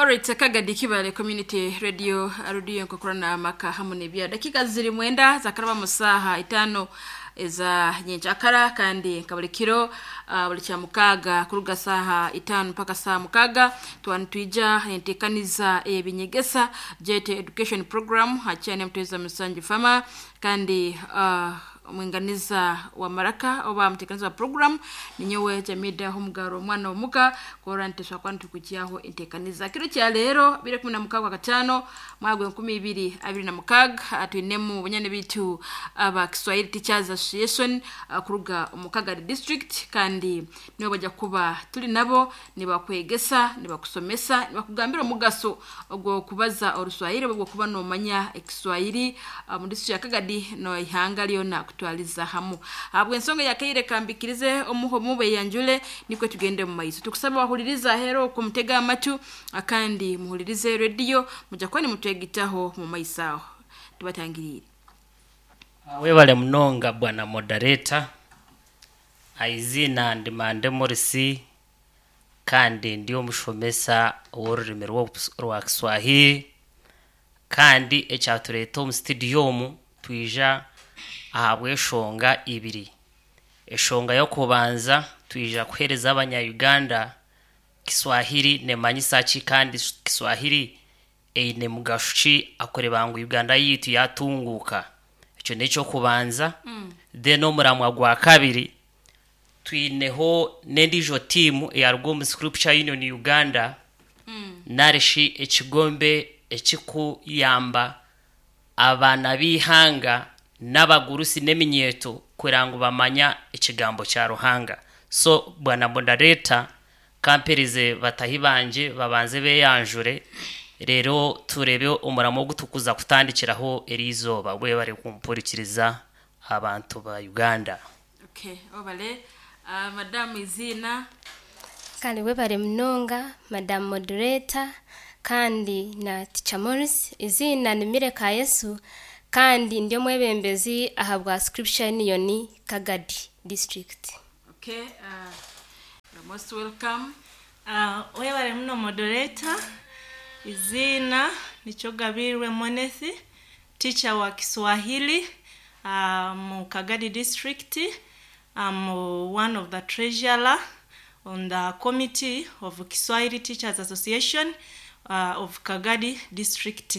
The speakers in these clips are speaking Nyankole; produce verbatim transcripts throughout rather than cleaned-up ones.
Alright, Kagadi Kibale Community Radio arudiyo nkokurana amaka hamu nebya dakika ziri mwenda zakaraba musaha itano eza nyenchakara kandi nka buli kiro uh, buli kya mukaga kuruga saha itano mpaka saha mukaga twanitwija entekaniza ebinyegesa J T Education Program hakyane muteza musanju fama kandi uh, omwinganiza wa maraka oba mutekaniza wa program ninyowe Jamida Homugaro omwana omuka kora nteswa kwani tukukyaho entekaniza kiro kya leero bire kumi na mukaga gatano mwaka enkumi ibiri abiri na mukaga. Twinemu bunyane bitu aba Kiswahili Teachers Association uh, kuruga omu Kagadi District, kandi nibo bajja kuba tuli nabo nibakwegesa, nibakusomesa, nibakugambira omugaso ogw'okubaza Oruswahili oba ogw'okuba nomanya Ekiswahili uh, mu district ya Kagadi no ihanga lyona kutwaliza hamu. Habw'ensonga yakaire kambikirize omuho mube yanjule nikwe tugende mu maiso. Tukusaba wahuliriza hero kumutega amatu kandi muhulirize radio mujja kuba nimutwegitaho mu maiso aho tubatangirire. Webale munonga, bwana moderator. Aizina ndi Mande Morisi kandi ndi omushomesa w'orurimi rwa- rwa Kiswahili, kandi ekyatureeta omu studio omu twija ahabw'eshonga ibiri. Eshonga y'okubanza, twija kuheereza Abanya-Uganda Kiswahili nemanyisa ki kandi Kiswahili eine mugasho ki akureba ngu Uganda yitu yatunguuka. Ekyo n'ekyokubanza mm. Then omuramwa gwa kabiri, twineho n'endiijo tiimu eyaruga omu Scripture Union Uganda mm. narishi ekigombe ekikuyamba abaana b'ihanga n'abagurusi n'eminyeeto kugira ngu bamanya ekigambo kya Ruhanga. So bwana moderator, kamperize batahi banje babanze beyanjure, rero turebe omuramo ogutukuza kutandikiraho eri izooba. Bwebare kumpurikiriza, abantu ba Uganda. Okay, obale uh, madamu izina. Kale webale munonga, madam moderator, kandi na Teacher Morris. Izina ni Mireka Yesu kandi ndi omwebembezi aha bwa Scripture Union Kagadi District. Okay, uh, you're most welcome. Uh, webale muno, moderator. Izina nikyo Gabirwe Monesi, teacher wa Kiswahili uh, mu Kagadi District. I'm one of the treasurer on the committee of Kiswahili Teachers Association uh, of Kagadi District.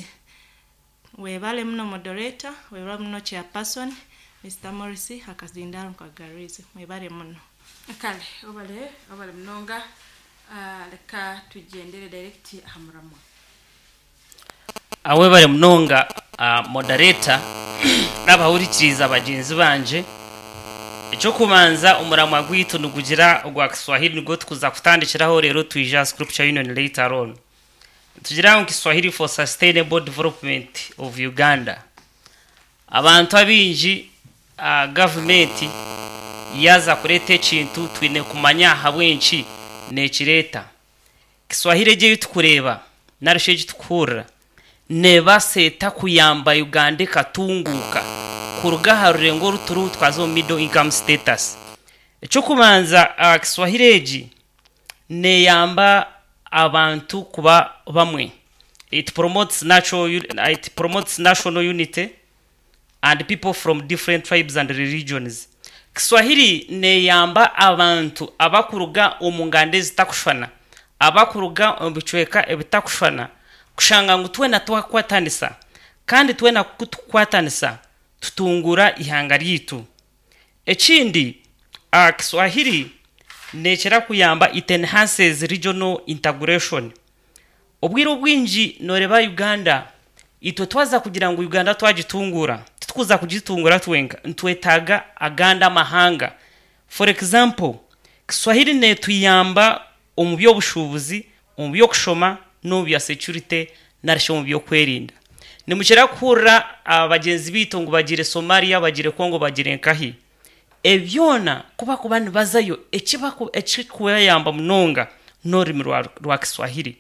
Webale muno, moderator. Webale muno, chairperson Mister Morris Hakazindaro Kagarizi. Webale muno. Kale obale obale munonga. uh, leka tugendere direct aha muramwa. Awebale munonga, uh, moderator n'abahurikiriza bagenzi banje. Ekyokubanza, omuramwa gwaitu nigugira ogwa Kiswahili nigwo tukuza kutandikiraho, rero twija Scripture Union later on. Tugira ngu Kiswahili for Sustainable Development of Uganda. Abantu abingi, uh, gavumenti yaza kureeta ekintu, twine kumanya ahabw'enki nekireeta. Kiswahili egi tukureeba narishi egi tukuhurira nebaseeta kuyamba Uganda ekatunguuka kuruga aha rurengo oruturiho twaza omu middle income status. Ekyokubanza, uh, Kiswahili egi neyamba abantu kuba bamwe. It promotes natural it promotes national unity and people from different tribes and religions. Kiswahili neyamba abantu abakuruga omu nganda ezitakushwana, abakuruga omu bicweka ebitakushwana, kushanga ngu twena twakwatanisa, kandi twena kutukwatanisa tutungura ihanga ryitu. Ekindi, uh, Kiswahili nekira kuyamba, it enhances regional integration. Obwire obwingi noreba Uganda, itwe twaza kugira ngu Uganda twagitungura, titukuza kugitungura twenka, ntwetaga aganda amahanga. For example, Kiswahili netuyamba omu by'obushubuzi, omu by'okushoma n'omu bya security narishi omu by'okwerinda. Nimukira kuhurira abagenzi bitu ngu bagire Somalia, bagire Congo, bagire nkahi. Ebyona kuba kuba nibazayo, ekikubayamba munonga n'orurimi rwa, rwa Kiswahili.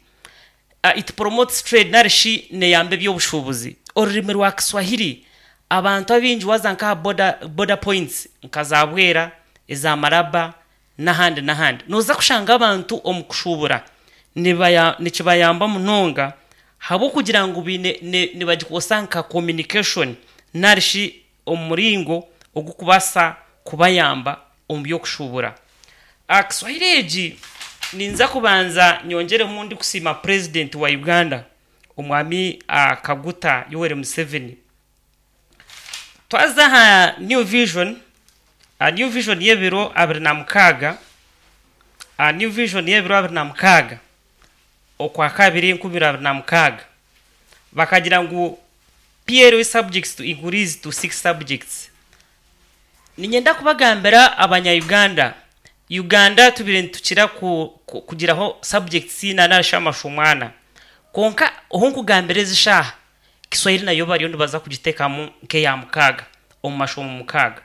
uh, it promotes trade narishi neyamba eby'obushubuzi. Orurimi rwa Kiswahili, abantu abingi waza nkaha border, border points nka za Bwera, eza Maraba n'ahandi n'ahandi, noza kushanga abantu omu kushubura nibaya nikibayamba munonga habwokugira ngu biine nibagikosa nka communication narishi omuringo ogukubasa kubayamba omu by'okushubura. Kiswahili egi ninza kubanza nyongeremu ndi kusiima president wa Uganda omwami uh, Kaguta Yoweri Museveni. Twaza aha New Vision, uh, New Vision y'ebiro abiri na mukaaga, uh, New Vision y'ebiro abiri na mukaaga okwa kabiri enkumi abiri na mukaaga bakagira ngu P L E subjects to increase to six subjects. Ninyenda kubagambira abanya-Uganda, Uganda tubire nitukira ku, ku, kugiraho subjects ina narishi amashomo ana, konka ohu nkugambira ezi shaaha Kiswahili nayo bariyo nibaza kugiteekamu nk'eya mukaaga omu mashomo mukaaga.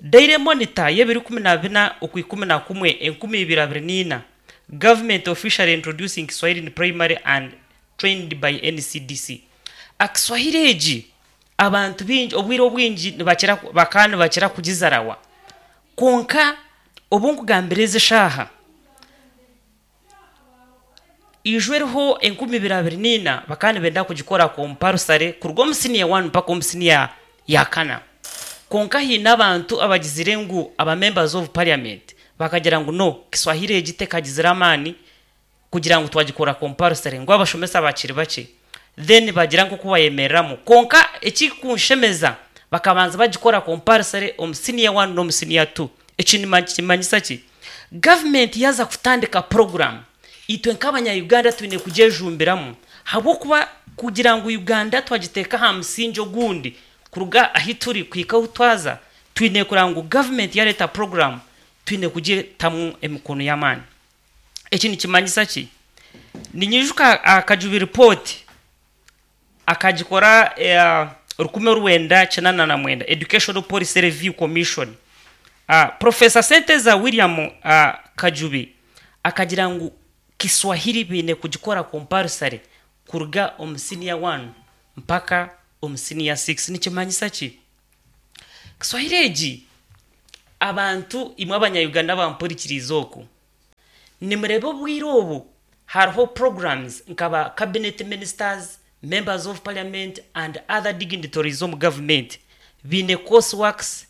Daily Monitor y'ebiro ikumi na bina okwikumi na kumwe enkumi ibiri abiri n'ina, government officially introducing Kiswahili in primary and trained by N C D C. Akiswahili egi abantu bingi obwire obwingi nibakira bakaba nibakira kugizarawa, konka obu nkugambira ezi shaaha ijwe eriho enkumi ibiri abiri n'ina bakaba nibenda kugikora compulsory kuruga omu senior one mpaka omu senior ya kana. Konka hiine abantu abagizire ngu aba members of parliament bakagira ngu no, Kiswahili egi tekagizire amaani kugira ngu twagikora compulsory, ngu abashomesa bakiri bakye, then bagira nk'oku bayemereramu. Konka ekikunshemeza bakabanza bagikora compulsory omu senior one n'omu senior two. Eki nikimanyisa ki? Gavumenti yaza kutandika program, itwe nk'abanya-Uganda twine kugyejumbiramu, habwokuba kugira ngu Uganda twagiteeka aha musingi ogundi kuruga ahi turi kuhika ahu twaza, twine kureba ngu gavumenti yareeta program twine kugitamu emikono y'amaani. Eki nikimanyisa ki? Ninyijuka Akajubi report akagikora eh, rukumi rwenda kinana na mwenda, Educational Policy Review Commission. uh, professor Senteza William uh, Kajubi akagira ngu Kiswahili biine kugikora compulsory kuruga omu senior one mpaka omu senior six. Nikimanyisa ki? Kiswahili egi, abantu imwe abanya-Uganda bampurikiriza oku nimureba, obwire obu hariho programs nkaba cabinet ministers, members of parliament and other dignitaries omu government biine course works,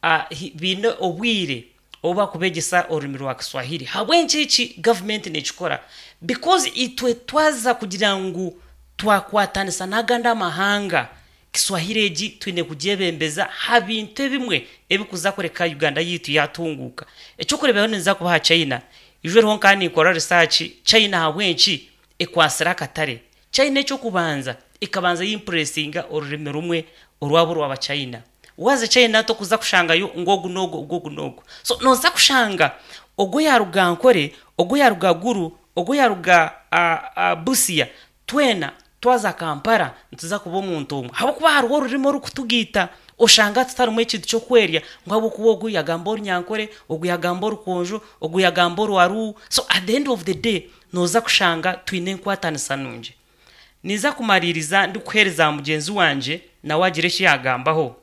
uh, biine obwire obu bakubegyesa orurimi rwa Kiswahili. Habw'enki eki gavumenti nekikora? Because itwe twaza kugira ngu twakwatanisa n'agandi amahanga, Kiswahili egi twine kugyebembeza ha bintu ebimwe ebikuza kureka Uganda yitu yatunguka. Ekyokureeberaho ninza kubaha China. Ijo eriho nkaba ninkora research China habw'enki ekwasire akatare. China ekyokubanza ekabanza yimpuresinga orurimi rumwe orwabo rwaba China. Waza China tokuza kushangayo ngu ogu n'ogu, ogu ogu n'ogu, so noza kushanga ogwo yaruga Nkore, ogwo yaruga Guru, ogwo yaruga uh, uh, Busia, twena twaza Kampala nituza kuba omuntu omwe, habwokuba hariho orurimi orukutugiita. Oshanga tutarimu ekintu kyokwerya ngu habwokuba ogu yagamba orunyankore, ogu yagamba orukonjo, ogu yagamba orwaru. So at the end of the day noza kushanga twine enkwatanisa nungi. Niza kumaririza ndikuheereza mugyenzi wangye nawe agira eki yagambaho.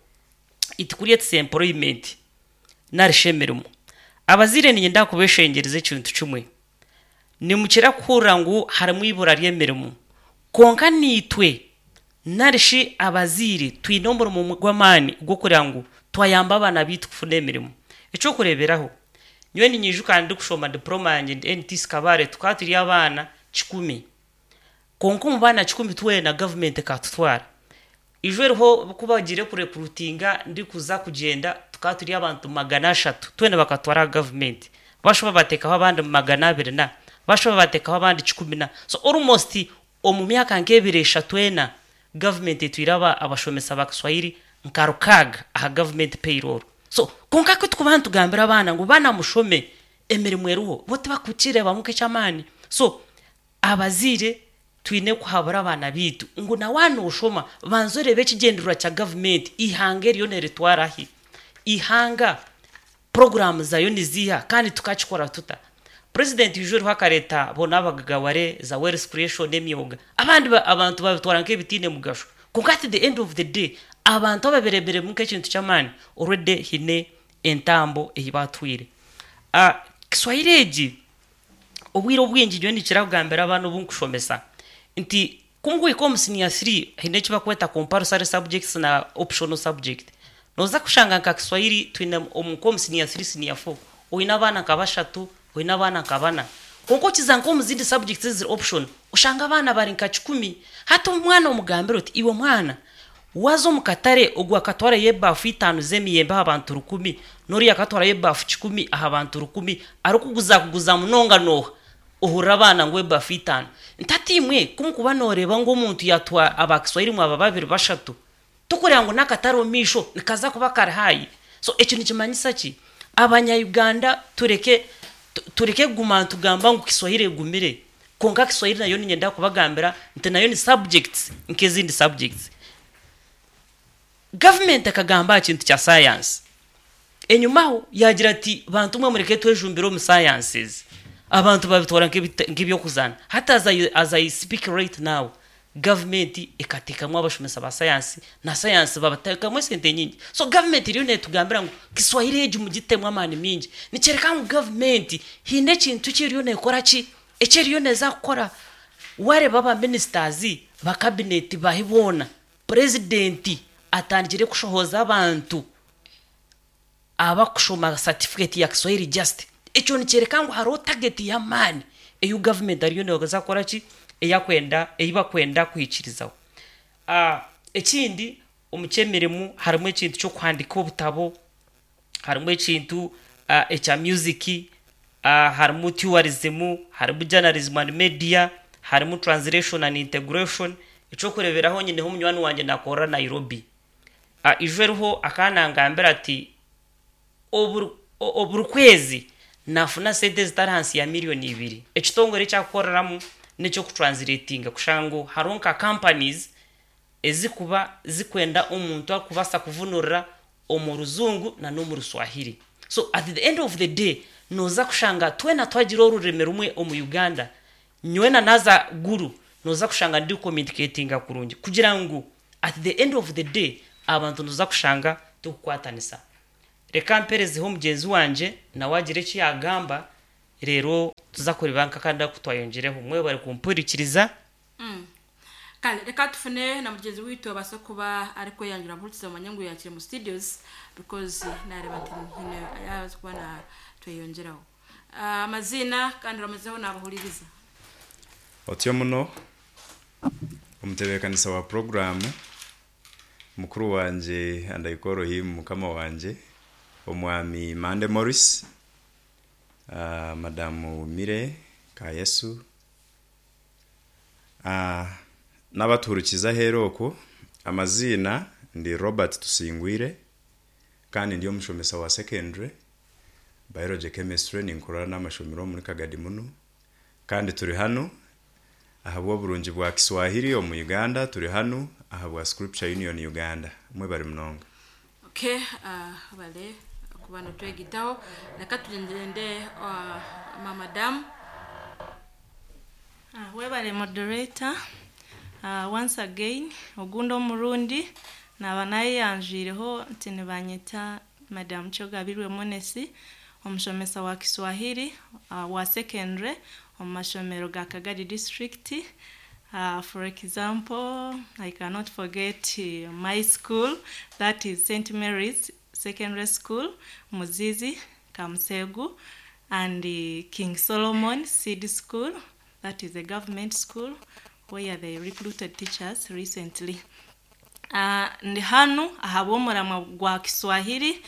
It creates employment narisha emirimo. Abazaire, ninyenda kubeshengereza ekintu kimwe. Nimukira kuhurira ngu harimu ibura ry'emirimo, konka niitwe narishi abazaire twine omurimo gw'amaani gw'okureba ngu twayamba abaana bitu kufuna emirimo. Ekyokureeberaho, nyowe ninyijuka ndikushoma diploma yangye ndi N T C Kabale, tukaba turi abaana kikumi, konka omu baana kikumi twena gavumenti ekatutwara. Ijo eriho ku bagire kurecruitinga ndikuza kugyenda, tukaba turi abantu magana ashatu, twena bakatwara gavumenti, bashoba bateekaho abandi magana abiri na bashoba bateekaho abandi kikumi na. So almost omu myaka nk'ebiri eshatu ena gavumenti etwire aba abashomesa ba Kiswahili nka rukaaga aha government payroll. So konka ku tukuba nitugambira abaana ngu baana mushome, emirimo eriho, bo tibakukireebamu nk'eky'amaani. So abazaire twine kuhabura abaana bitu ngu nawe noshoma banza orebe ekigyendererwa kya gavumenti, ihanga eriyo neritwarahi, ihanga porogaramu zayo niziiha, kandi tukakikora tuta. President ijo eriho akareta bona abagagaware za wealth creation, emyoga, abandi ba- abantu babitwara nk'ebitiine mugasho, konka at the end of the day abantu ababireberemu nk'ekintu ky'amaani already hine entambo ei batwire. uh, kiswahili egi Obwire obwingi nyowe nikira kugambira abaana obu nkushomesa nti kumuhika omu senior three haine eki bakweta compulsory subjects na optional subject. Noza kushanga nka Kiswahili twine omu nk'omu senior three, senior four oine abaana nka bashatu, oine abaana nka bana. Konka okiza nk'omu zindi subjects eziri option oshanga abaana bari nka kikumi. Hati omwana omugambira oti iwe mwana waza omu katare ogwo akatwarayo ebaafu itaano z'emiyembe aha bantu rukumi, n'oriya akatwarayo ebaafu kikumi aha bantu rukumi, arikuguza kuguza munonga nooha? Ohurira abaana ngu ebaafu itaano. Ntati imwe kumukuba nooreeba ngu omuntu yatwa aba Kiswahili mwaba babiri bashatu, tukureba ngu n'akatare omu maisho nikaza kuba kari haayi. So ekyo nikimanyisa ki? Abanya-Uganda tureke tureke kuguma nitugamba ngu Kiswahili egumire. Konka Kiswahili nayo niinyenda kubagambira nti nayo ni subjects nk'ezindi subjects. Gavumenti ekagamba aha kintu kya science. Enyumaho yagira ati bantu mwe mureke twejumbire omu sciences. Abantu babitwara nk'ebyokuzaana. Hati as I, as I speak right now, gavumenti ekateekamu abashomesa ba science na science babateekamu esente nyingi. So gavumenti eriyo neetugambira ngu Kiswahili egi mugitemu amaani mingi. Nikyereka ngu gavumenti haine ekintu eki eriyo neekora ki? Eki eriyo neeza kukora. Wareeba aba ministers ba cabinet bahi boona, purezidenti atandikire kushohoza abantu abakushoma certificate ya Kiswahili just. Ekyo nikyereka ngu hariho target y'amaani eyu gavumenti ariyo neeza kukora ki? Eyakwenda ei bakwenda kuhikirizaho. Uh, ekindi omu ky'emirimo harimu ekintu ky'okuhandiika obutabo, harimu ekintu uh, ekya music, uh, harimu tourism, harimu journalism and media, harimu translation and integration. Ekyokureeberaho nyineho munywani wangye nakorera Nairobi. Uh, ijo eriho akanangambira ati oburi kwezi nafuna sente ezitari hansi ya miliyoni ibiri. Ekitongore ekyakukoreramu n'ekyokutranslatinga kushanga ngu hariho nka companies ezikuba zikwenda omuntu arikubaasa kuvunurira omu ruzungu na n'omu Ruswahili. So at the end of the day noza kushanga twena twagira orurimi rumwe omu Uganda, nyowe naza guru noza kushanga ndi communicatinga kurungi kugira ngu at the end of the day abantu noza kushanga tukukwatanisa. Reka mperezeho mugyenzi wangye nawe agire eki yagamba, reero tuza kureeba nk'akandi aku twayongireho. Mwebare kumpurikiriza. Mm. Kale reka tufune na mugenzi witu abasa kuba arikweyanjura mpurikiza mumanye ngu yakire mu studios because nareeba nti hine yabaza kuba na tweyongeraho. Amazina kandi ramazeho nabahuririza. Otyo muno omutebeekanisa wa programu mukuru wangye and I call him mukama wangye omwami Mande Morris, uh, madamu Mire Kayesu, uh, n'abatuhurikiza aheeru okwo. Amaziina ndi Robert Tusingwire kandi ndi omushomesa wa secondary biology chemistry, ninkorera n'amashomero muri Kagadi muno, kandi turi hano ahabw'oburungi bwa Kiswahili omu Uganda, turi hano ahabwa Scripture Union Uganda. Mwebare munonga. Okay, uh, bale kuba nitwegitaho. Reka tugende uh, mama. Uh, webale moderator. Uh, once again ogundi omurundi naba nayeyanjwireho nti nibanyeta Madam Kyogabirwe Monesi, omushomesa wa Kiswahili uh, wa secondary omu mashomero ga Kagadi district. Uh, for example, I cannot forget uh, my school, that is Saint Mary's Secondary School, Muzizi, Kamsegu, and uh, King Solomon Seed School, that is a government school where they recruited teachers recently. Uh, ndi hanu ahabw'omuramwa gwa Kiswahili.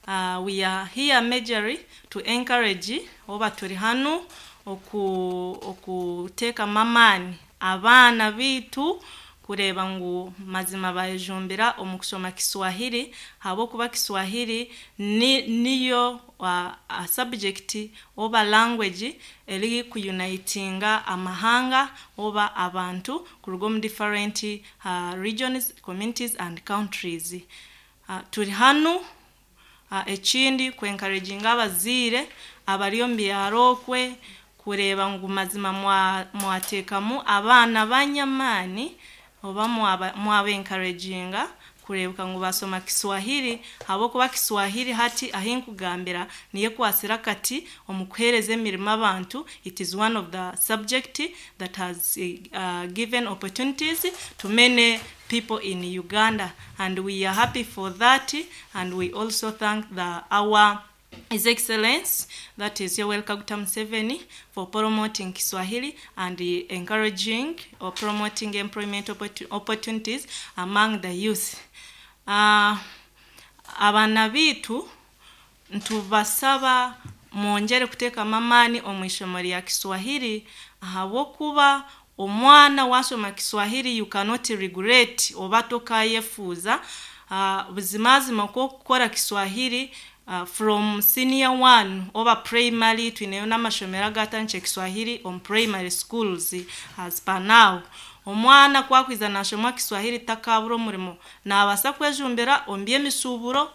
Uh, we are here majorly to encourage oba turi hanu oku okuteekamu amaani abaana biitu kureeba ngu mazima bayejumbira omu kushoma Kiswahili, ahabw'okuba Kiswahili ni, niyo uh, a subject oba language eri kuyunitinga amahanga oba abantu kuruga omu different uh, regions, communities and countries. Uh, turi hanu uh, ekindi kwencouraginga abaziire abari omu byaro okwe kureeba ngu mazima mwateekamu abaana banyamaani oba mwaba encouraginga kurebuka ngu basoma Kiswahili habwokuba Kiswahili hati ahinkugambira niye kwasira kati omu kuheereza emirimo abantu. It is one of the subject that has uh, given opportunities to many people in Uganda, and we are happy for that, and we also thank the our His Excellence, that is Yoweri Kaguta Museveni, for promoting Kiswahili and uh, encouraging or promoting employment opportu- opportunities among the youth. Uh, abaana biitu ntubasaba mwongere kuteekamu amaani omu ishomo rya Kiswahili, ahabwokuba omwana wasoma Kiswahili you cannot regret oba tokayefuuza. uh, buzimazima kwokukora Kiswahili uh, from senior one oba primary, twineyo n'amashomero agatandikire Kiswahili omu primary schools as per now. Omwana kwakwiza nashoma Kiswahili takabura omurimo, naabasa kwejumbira omu by'emisuuburo,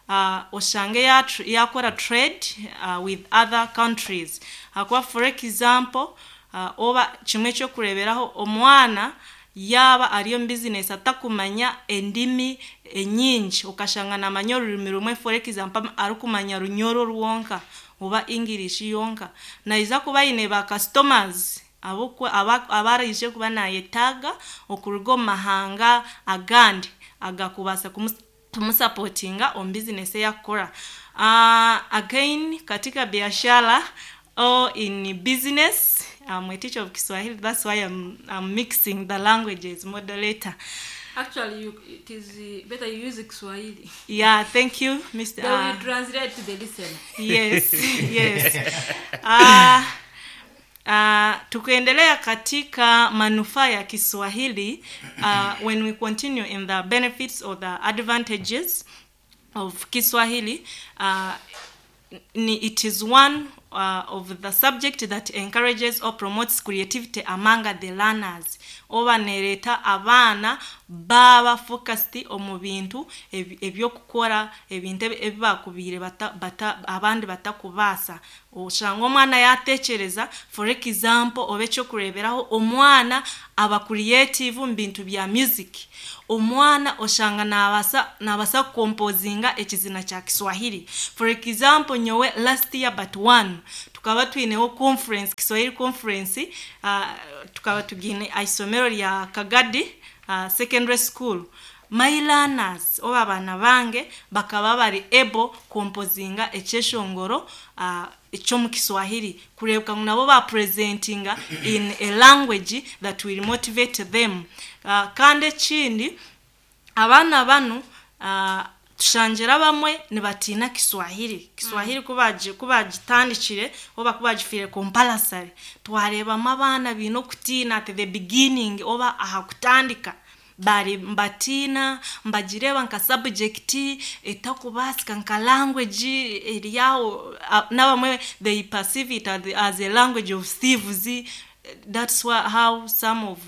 uh, oshange yakora trade uh, with other countries. Hakuba for example, uh, oba kimwe ekyokureeberaho, omwana yaba ari omu business atakumanya endimi enyingi, okashanga namanya orurimi rumwe, for example arikumanya Runyoro rwonka oba English yonka, naija kuba aine ba customers abaraije kuba nayetaaga okuruga omu mahanga agandi agakubaasa kumusapotinga omu business eyakukora. Uh, again katika biashara or in business, I'm a teacher of Kiswahili, that's why I'm, I'm mixing the languages, moderator. Actually, you, it is uh, better you use Kiswahili. Yeah, thank you, Mister They will translate to the listener. Yes, yes. Uh, uh, tukiendelea katika manufaa ya Kiswahili, uh, when we continue in the benefits or the advantages of Kiswahili, uh, ni, it is one uh, of the subject that encourages or promotes creativity among the learners. Oba nereta abaana baba focused omu bintu ebyokukora, ebintu ebibakubiire bata, bata, abandi batakubaasa. Oshanga omwana yatekereza, for example, oba ekyokureeberaho, omwana aba creative mu bintu bya music. Omwana oshanga nabasa nabasa kukompozinga ekizina kya Kiswahili. For example, nyowe last year but one tukaba twineho conference, Kiswahili conference, uh, tukaba tugine isomero lya Kagadi uh, secondary school. My learners oba abaana bange bakaba bari able kompozinga ekyeshongoro uh, ekyomu Kiswahili, kureebeka ngu nabo bapresentinga in a language that will motivate them. Uh, kandi ekindi, abaana banu uh, tushangira bamwe nibatiina Kiswahili. Kiswahili kubaji kubagitandikire oba kubagifire compulsory, twareebamu abaana biine okutiina at the beginning oba aha kutandika bari mbatiina, mbagireba nka subject etakubaasika, nka language eryaho, n'abamwe they perceive it as a language of thieves. That's why how some of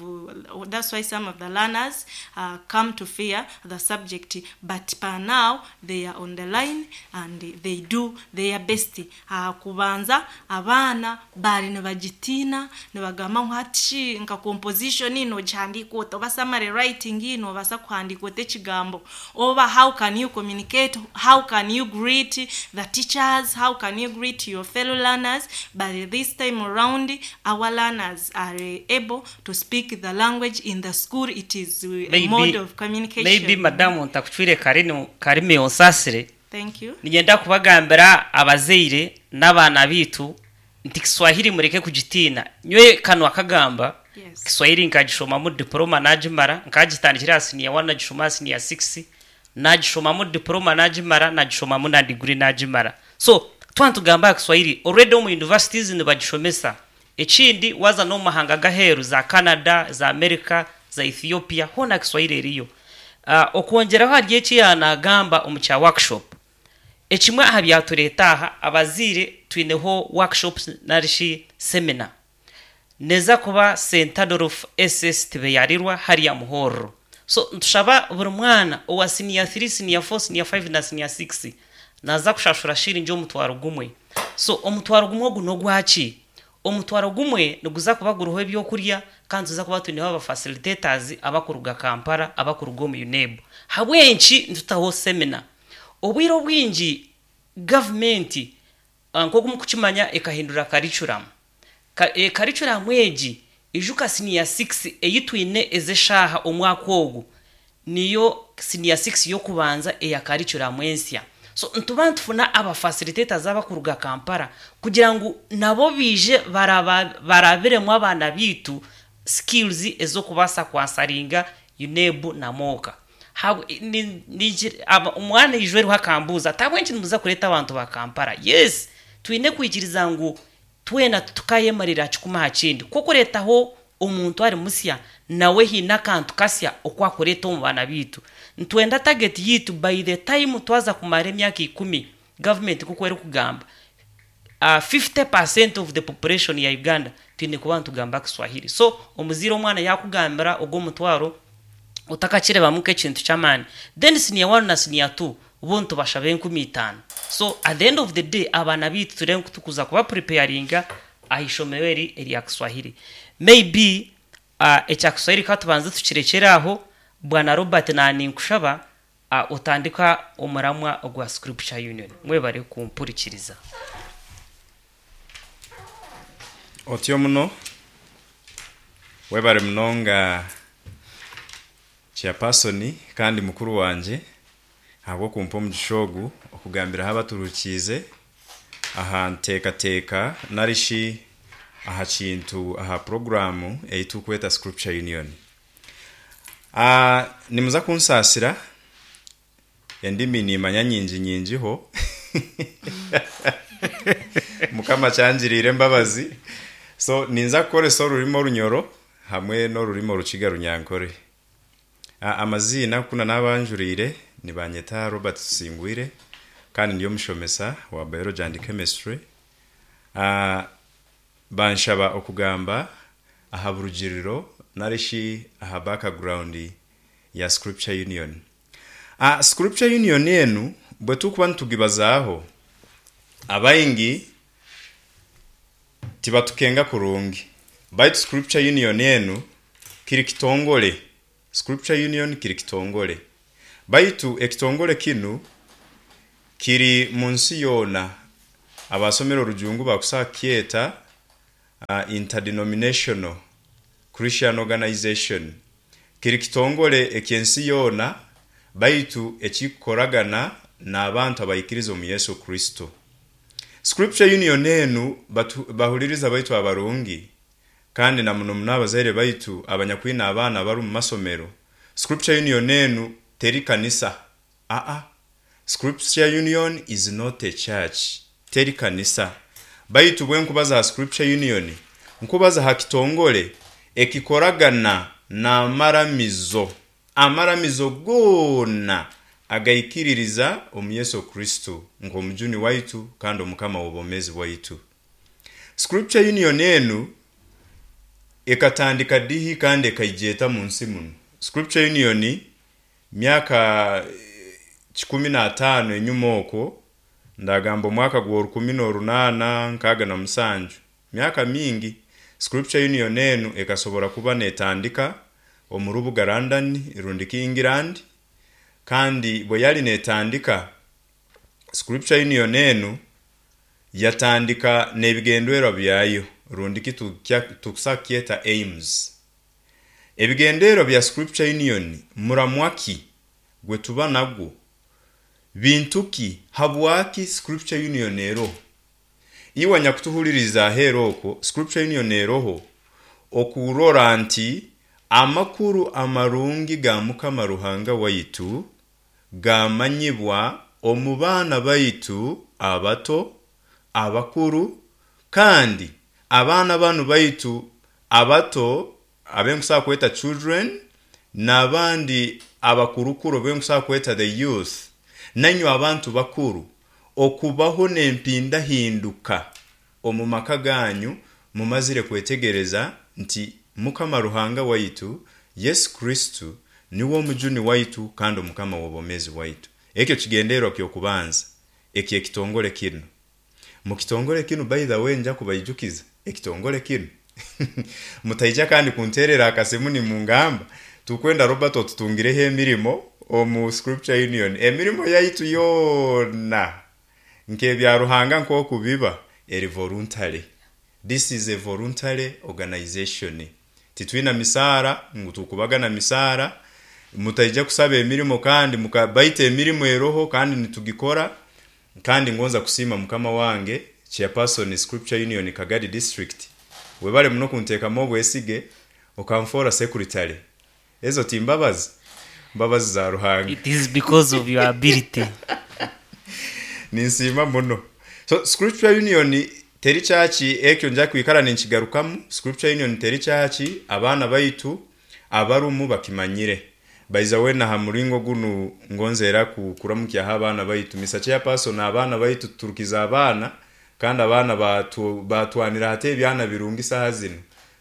that's why some of the learners uh, come to fear the subject, but per now they are on the line and they do their best. Uh, kubanza abaana bari nibagitiina, nibagamba ngu hati nka composition ino gihandiika ota, oba summary writing ino obasa kuhandiika ota ekigambo, oba how can you communicate, how can you greet the teachers, how can you greet your fellow learners. But this time around our learners are able to speak the language in the school. It is a Maybe- mode of communication. Maybe madamu ntakucwire karimi karimi onsasire. Thank you. Nigenda kubagambira abazaire n'abaana bitu nti Kiswahili mureke kugitiina. Nywe kanwa kagamba Yes. Kiswahili nkagishomamu diploma nagimara, nkagitandikira senior one nagishoma senior six, nagishomamu diploma nagimara, nagishomamu na degree nagimara. So twantugamba Kiswahili already omu universities nibagishomesa. Ekindi waza no mahanga gaheru za Canada, za America, za Ethiopia, hona Kiswahili eriyo. Uh, okwongeraho hari eki yanagamba omu kya workshop. Ekimwe aha byatureeta aha abaziire twineho workshops narishi seminar neza kuba Saint Adolf S S Tibeyarirwa hariya Muhorro. So ntushaba buri mwana owa senior three, senior four, senior five na senior six naza kushashura shiringi omutwaro gumwe. So omutwaro gumwe ogu nogwaki? Omutwaro gumwe niguza kuba guriho ebyokurya, kandi tuza kuba twineho aba facilitators abakuruga Kampala, abakuruga omu UNEB. Habwenki nitutaho seminar? Obwire obwingi gavumenti, ah, nk'oku mukukimanya, ekahindura curriculum. Ka, e, curriculum egi ijuka senior six eyi twine ez'eshaaha omwaka ogu niyo senior six y'okubanza eya curriculum ensya. So nituba nitufuna aba facilitators abakuruga Kampala kugira ngu nabo bije baraba barabiremu abaana bitu skills ez'okubaasa kwasaringa UNEB na MoKA. Habwe- ni- ni- aba- omwana ijwe eriho akambuuza, "Tabwenki nimuza kureeta abantu ba Kampala?" Yes, twine kwikiriza ngu twena tukayemarira kikumi aha kindi, kukureetaho omuntu ari musya nawe hiine akantu kasya okwakureeta omu baana biitu. Nitwenda target yitu by the time twaza kumara emyaka ikumi, gavumenti kuko erikugamba uh, fifty percent of the population ya Uganda twine kuba nitugamba Kiswahili. So omuziire omwana yakugambira ogwo omutwaro utakakirebamu nk'ekintu ky'amaani. Then senior one na senior two bo nitubashaba enkumi itaano. So at the end of the day, abaana biitu turebe tukuza kuba preparinga aha ishomero eri erya Kiswahili. Maybe uh, ekya Kiswahili katubanze tukirekere aho. Bwana Robert, naninkushaba uh, otandika omuramwa ogwa Scripture Union. Mwebare kumpurikiriza. Otyo muno, webare munonga chairperson kandi mukuru wanje ahabw'okumpa omugisha ogu okugambiraho abaturukiize aha nteekateeka narishi aha kintu, aha poroguramu ei tukweta Scripture Union. Ah, nimuza kunsaasira, endimi nimanya nyingi nyingiho, Mukama kyangiriire embabazi, so ninza kukoresa orurimi Orunyoro hamwe n'orurimi Orukiga Runyankore. Ah, amaziina kuna n'abanjuriire nibanyeta Robert Tusingwire, kandi ndi omushomesa wa biology and chemistry. Ah, banshaba okugamba aha burugiriro narishi aha background ya Scripture Union. Ah, Scripture Union enu bwe tukuba nitugibazaaho, abaingi tibatukenga kurungi, baitu Scripture Union enu kiri kitongole. Scripture Union kiri kitongole, baitu ekitongole kinu kiri mu nsi yoona. Abasomera orujungu bakusaa kukyeta uh, interdenominational Christian organization. Kiri kitongole ekyensi yoona, baitu ekikukoragana n'abantu abaikiriza omu Yesu Kristo. Scripture Union enu, batu- bahuliriza baitu abarungi, kandi na muno muno abazaire baitu abanyakwina abaana bari omu masomero, Scripture Union enu teri kanisa. Aa, Scripture Union is not a church, teri kanisa. Baitu bwe nkubaza ha Scripture Union, nkubaza ha kitongole ekikoragana n'amaramizo, amaramizo goona agaikiririza omu Yesu Kristo nk'omujuni waitu kandi omukama w'obwomezi bwaitu. Scripture Union enu ekatandika dihi kandi ekaijeta mu nsi muno? Scripture Union myaka eh, kikumi n'ataano enyuma okwo, ndagamba omwaka gwa orukumi n'orunaana nkaaga na musanju, myaka mingi, Scripture Union enu ekasobora kuba netandika omu rubuga London rundiki England. Kandi bwe yali netandika, Scripture Union enu yatandika n'ebigendererwa byayo, rundiki tukusa kukyeta aims. Ebigendererwa bya Scripture Union, muramwaki gwe tuba nagwo, bintu ki, habwaki Scripture Union eroho? Iwe nyakutuhuliriza aheera okwo, Scripture Union eroho okurora nti amakuru amarungi ga Mukama Ruhanga waitu gamanyibwa omu baana baitu abato, abakuru, kandi abaana banu baitu abato abenkusobola kweta children, n'abandi abakurukuru benkusobola kweta the youth, nanywe abantu bakuru, okubaho n'empindahinduka omu maka ganyu mumazire kwetegereza nti Mukama Ruhanga waitu Yesu Kristo niwe omujuni waitu kandi omukama w'obwomezi bwaitu. Ekyo kigendererwa ky'okubanza ekyekitongole kinu. Mu kitongole kinu, by the way, nja kubaijukiza Ekitongole kinu mutaija kandi kunterera akasimu nimungamba tukwenda Robert otutungireho emirimo omu Scripture Union. Emirimo yaitu yoona nk'ebya Ruhanga nk'okubiba eri voluntary. This is a voluntary organization. Titwina misaara ngu tukubagana misaara. Mutaija kusaba emirimo kandi mukabaita emirimo eroho kandi nitugikora. Kandi ngonza kusiima mukama wange chairperson Scripture Union Kagadi District, webale muno kunteekamu obwesige okanfoora secretary. Ezo timbabazi, mbabazi za Ruhanga. It is because of your ability. Ninsiima muno. So Scripture Union teri church, ekyo nja kwikara ninkigarukamu. Scripture Union teri church, abaana baitu abarumu bakimanyire. Baiza wena ha muringo gunu ngonzera kuramukyaho abaana baitu. Mister Chairperson, abaana baitu tuturukiza abaana kandi abaana batu, batwanira hate ebyana birungi. Saha zino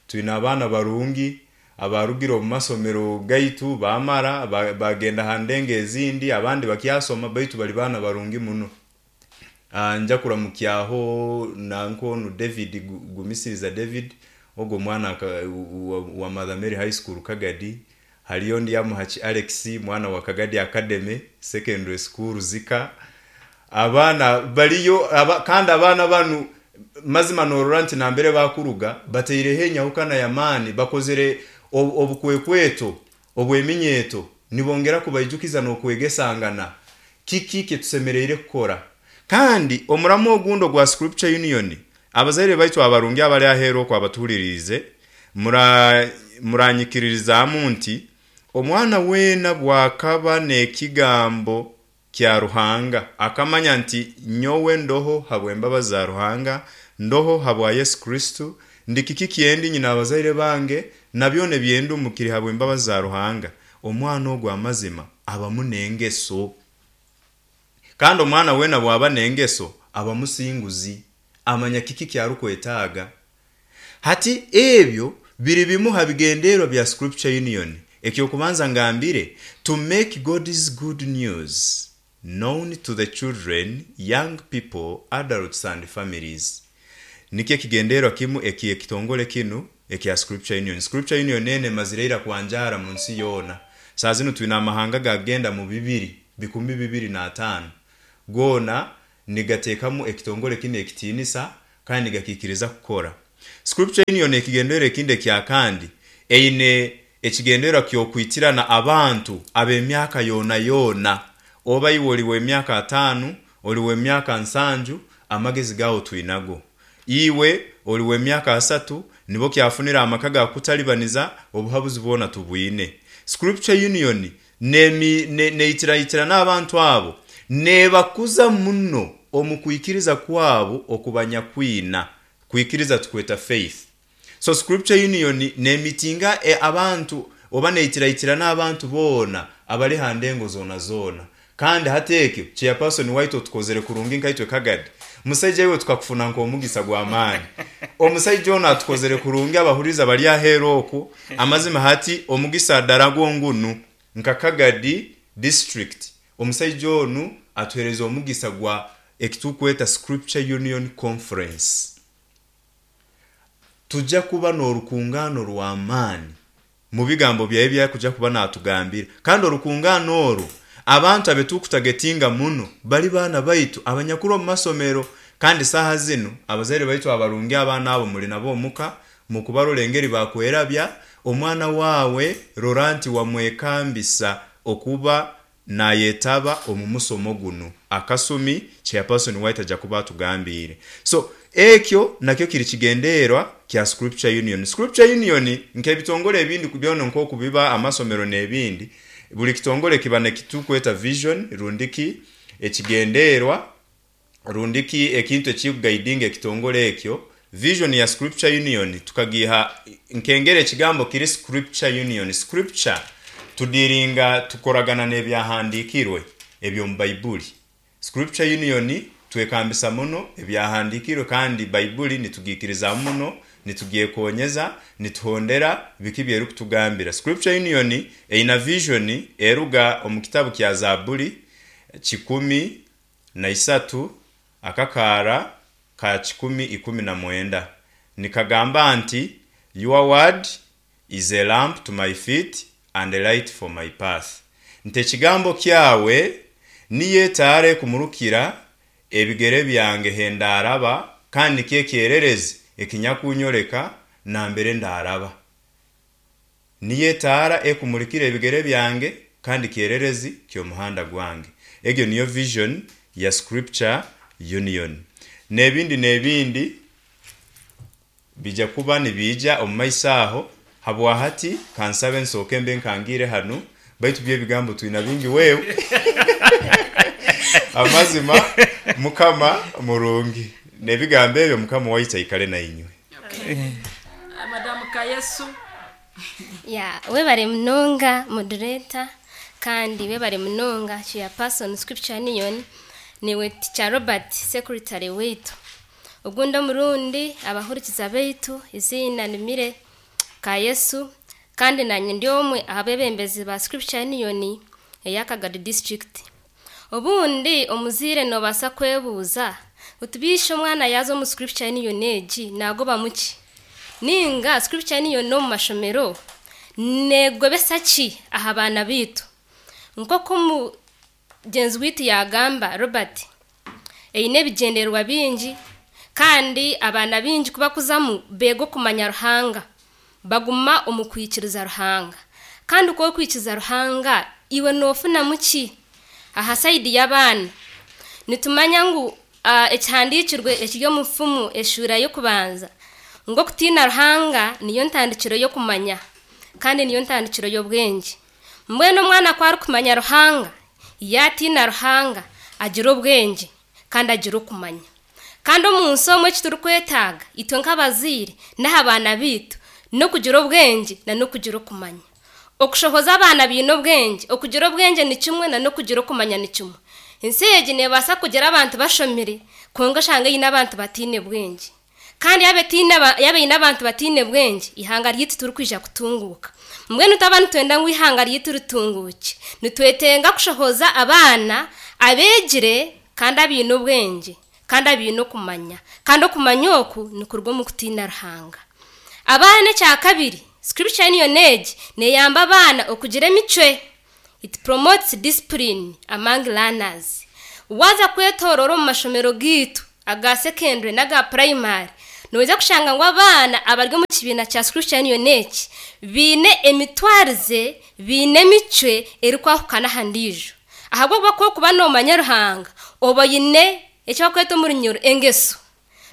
twine abaana barungi abarugire omu masomero gaitu bamara bagenda ha ndengo ezindi, abandi bakyasoma, baitu bali baana barungi muno. Uh, nja kuramukyaho nankonu David Gumisiriza David, ogwo mwana wa, wa Mother Mary High School Kagadi. Haliyo ndi Amuhachi Alex, mwana wa Kagadi Academy Secondary School Zika. Abaana baliyo aba, kandi abaana banu mazima norora nti nambere bakuruga bateireho enyahukana y'amaani, bakozere obukwekweto obweminyeeto, nibongera kubaijukiza n'okwegesangana kiki kitusemereire kukora. Kandi omuramu ogundo gwa Scripture Union, abazaire baitu abarungi abali aheeru okwo abatuhuliriize, muranyikiririzaamu nti omwana weena bwakaba n'ekigambo kya Ruhanga akamanya nti nyowe ndoho habw'embabazi za Ruhanga, ndoho habwa Yesu Kristo, ndi kiki kyendi nyina abazaire bange nabyo nebyendumukiri habw'embabazi za Ruhanga, omwana ogwo amazima abamu n'engeso. Kandi omwana weena bwaba n'engeso aba musinguzi, amanya kiki kyarukwetaaga. Hati ebyo biri bimu ha bigendererwa bya Scripture Union. Ekyokubanza ngambire, to make God's good news known to the children, young people, adults and families. Nikyo ekigendererwa kimu eki ekitongole kinu ekya Scripture Union. Scripture Union ene mazireira kwanjara mu nsi yoona. Saa zinu twine amahanga gagenda mu bibiri bikumi bibiri na ataano, goona nigateekamu ekitongole kinu ekitiinisa kandi nigakikiriza kukora. Scripture Union ekigendererwa ekindi ekya kandi eine ekigendererwa ky'okwitirana abantu ab'emyaka yoona yoona. Oba iwe oli w'emyaka ataano, oli w'emyaka nsanju, amagezi gawo twinago. Iwe oli w'emyaka asatu, nibo kyafunira amaka gakutalibaniza, obuhabuzi bwona tubwine. Scripture Union neitiraitira n'abantu abo, nebakuza muno omu kwikiriza kwabo okubanyakwina. Kwikiriza tukweta faith. So Scripture Union nemitinga e abantu oba neitiraitira n'abantu boona abali ha ndengo zoona zoona. Kandi hati ekyo chairperson waitu otukozere kurungi nkaitwe Kagadi, musaija iwe tukakufuna nk'omugisa gw'amaani. Omusaija ono atukozere kurungi, abahuriza bali aheeru okwo amazima. Hati omugisa dara gwongunu nka Kagadi District, omusaija onu atuhereza omugisa gwa ekitukweta Scripture Union Conference. Tujja kuba n'orukungano rw'amaani mu bigambo byawe byakuja kuba natugambira. Kandi orukungano orwo abantu abetukutagetinga muno bali baana baitu abanyakuru omu masomero. Kandi saha zinu abazaire baitu abarungi abaana abo muli nabo omuka, mukubarora engeri bakwerabya omwana wawe, rora nti wamwekambisa okuba nayetaba omu musomo guno akasumi chairperson waitu ajja kuba atugambire. So ekyo nakyo kiri kigendererwa kya Scripture Union. Scripture Union nk'ebitongole ebindi byona nk'okubiba amasomero n'ebindi, buli kitongole kiba nekitukweta vision rundiki ekigendererwa rundiki ekintu ekikuguidinga ekitongole ekyo. Vision ya Scripture Union tukagiha nkengera ekigambo kiri Scripture Union. Scripture tudiringa tukoragana n'ebyahandikirwe ebyo mu Baibuli. Scripture Union twekambisa muno ebyahandikirwe kandi Baibuli nitugikiriza muno, nitugyekonyeza, nituhondera biki byerikutugambira. Scripture Union eina vision eruga omu kitabu kya Zaburi kikumi na isatu akakaara ka kikumi ikumi na mwenda. Nikagamba nti your word is a lamp to my feet and a light for my path. Nti ekigambo kyawe niyo etaara ekumurukira ebigere byange hendaraba, kandi nikyo ekyererezi ekinyakunyoreka nambere ndaraba. Niyo etaara ekumurikira ebigere byange kandi kyererezi ky'omuhanda gwange. Egyo niyo vision ya Scripture Union. N'ebindi n'ebindi bija kuba nibiija omu maiso aho. Habwahati kansabe nsooke mbe nkangire hanu, baitu by'ebigambo twina bingi wewe. Amazima Mukama murungi, n'ebigambo ebyo Mukama waitu aikale na inywe. Madamu Kayesu. Ya, webare munonga moderator, kandi webare munonga chairperson Scripture Union, niwe Teacher Robert secretary waitu. Ogundi omurundi abahurikiza baitu izina nimire Kayesu, kandi nanye ndi omwe abebembezi ba Scripture Union eya Kagadi district. Obundi omuzire nobasa kwebuuza utubishe omwana yaza omu Scripture Union egi nagoba muki? Ninga Scripture Union no mu mashomero negobesa ki aha baana bitu? Nk'oku mugenzi witu yagamba Robert, eine ebigyendererwa bingi, kandi abaana bingi kubakuzamu beega okumanya Ruhanga, baguma omu kwikiriza Ruhanga. Kandi uko okwikiriza Ruhanga iwe nofunamu ki? Aha saidi y'abaana nitumanya ngu uh, ekihandikirwe ekiri omu nfumu eshuura y'okubanza ngu okutiina Ruhanga niyo ntandikiro y'okumanya kandi niyo ntandikiro y'obwengye. Mbwenu omwana ku arikumanya Ruhanga, yaatiina Ruhanga, agira obwengye kandi agira okumanya. Kandi omu nsi omwe eki turikwetaaga itwe nk'abazaire n'aha baana baitu n'okugira obwengye na n'okugira okumanya. Okushohoza abaana baine obwengye, okugira obwengye ni kimwe na n'okugira okumanya ni kimwe. Ensi egi neebaasa kugira abantu bashomire, kwonka oshanga eine abantu bataine bwengye. Kandi yaaba etaine aba- yaaba eine abantu bataine bwengye, ihanga ryaitu turikwija kutunguuka. Mbwenu twaba nitwenda ngu ihanga ryaitu ritunguuke, nitwetenga kushohoza abaana abeegire kandi abaine obwengye kandi abaine okumanya. Kandi okumanya oku nikuruga omu kutiina Ruhanga. Abaana ekya kabiri, Scripture Union egi neyamba abaana okugira emicwe. It promotes discipline among learners. Waza kwetorora omu mashomero gaitu aga secondary n'aga primary, noija kushanga ngu abaana abari omu kibiina kya Scripture Union eki biine emitwarize, biine emicwe erikwahukana aha ndiijo. Ahabw'okuba kwokuba noomanya Ruhanga, oba oine eki bakweta omu runyoro engeso.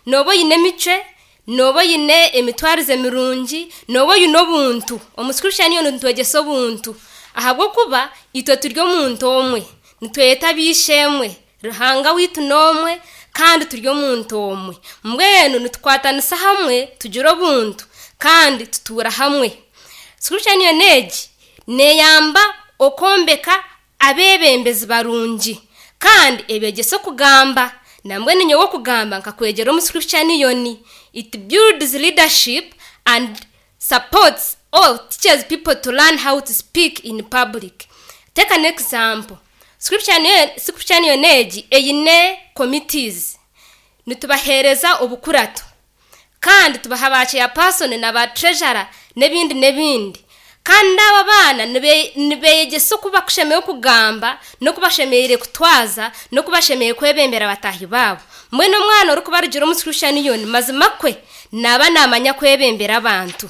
Nooba oine emicwe, nooba oine emitwarize mirungi, nooba oine obuntu. Omu Scripture Union nitwegyesa obuntu. Ahabw'okuba itwe turi omuntu omwe, nitweyeta ab'eishe-emwe, Ruhanga waitu n'omwe, kandi turi omuntu omwe. Mbwenu nitukwatanisa hamwe tugira obuntu kandi tutuura hamwe. Scripture Union egi neyamba okwombeka abebembezi barungi, kandi ebegyesa okugamba. Nambwenu nyowe okugamba nkakwegyera omu Scripture Union. It builds leadership and supports all teaches people to learn how to speak in public. Take an example. Scripture Union, Scripture Union egi eine committees. Nitubahereza obukurato, kandi tubaha ba chairperson na ba treasurer n'ebindi n'ebindi. Kandi aba baana nibe- nibeyegyesa oku bakushemereire okugamba n'oku bashemereire kutwaza n'oku bashemereire kwebembera bataahi baabo. Mbwenu omwana orikuba arugire omu Scripture Union mazima kwe naaba naamanya kwebembera abantu.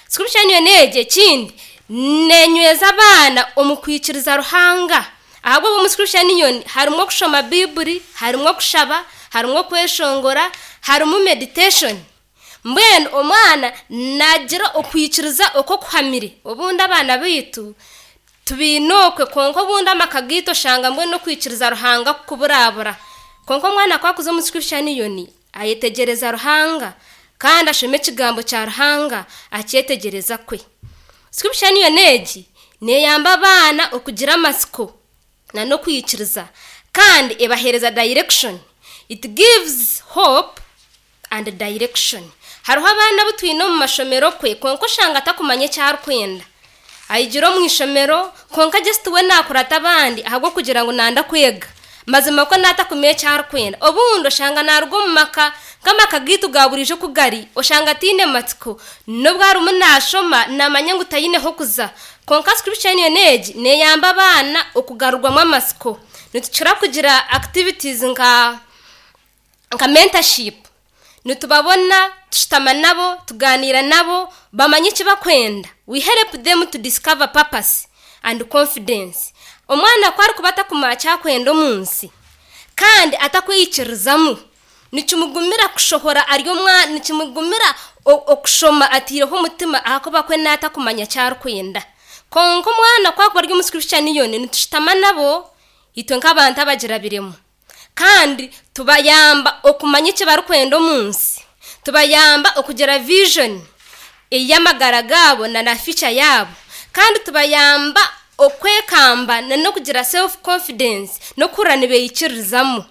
Scripture Union egi ekindi nenyweza abaana omu kwikiriza Ruhanga. Ahabw'okuba omu Scripture Union harimu okushoma Biibuli, harimu okushaba, harimu okweshongora, harimu meditation. Mbwenu omwana nagira okwikiriza okw'okuhamire. Obundi abaana baitu tubiine okwe, kwonka obundi amaka gaitu oshanga mbwenu okwikiriza Ruhanga kuburabura. Kwonka omwana ku akuza omu Scripture Union ayetegyereza Ruhanga kandi ashoma ekigambo kya Ruhanga akyetegyereza kwe. Scripture Union egi neyamba abaana okugira amatsiko na n'okwikiriza, kandi ebahereza direction. It gives hope and direction. Hariho abaana abu twine omu mashomero kwe, kwonka oshanga atakumanya eki arikwenda. Ayigira omu ishomero, kwonka just we nakurata abandi ahabw'okugira ngu nanda kwega. Mazima ko natakumenya ekyarikwenda. Obundi oshanga naruga omu maka nk'amaka gaitu ga burijo kugari, oshanga tiine matsiko, nobwo arimu nashoma namanya ngu tayineho kuza. Konka Scripture Union egi neyamba abaana okugarurwamu amatsiko. Nitukira kugira activities nka nka mentorship, nitubabona tushutama nabo, tuganira nabo, bamanye eki bakwenda. We help them to discover purpose and confidence. Omwana ku arikuba atakumanya kyakwenda omu nsi kandi atakweyikirizamu, nikimugumira kushohora ari omwana, nikimugumira okushoma atiireho omutima ahakuba kwe naatakumanya kyarikwenda. Konka omwana ku akuba ari omu Scripture Union, nitushutama nabo itwe nk'abantu abagirabiremu, kandi tubayamba okumanya eki barikwenda omu nsi, tubayamba okugira vision ey'amagara gaabo na na future yaabo, kandi tubayamba okwekamba na n'okugira self confidence n'okuhurira nibeyikiririzamu.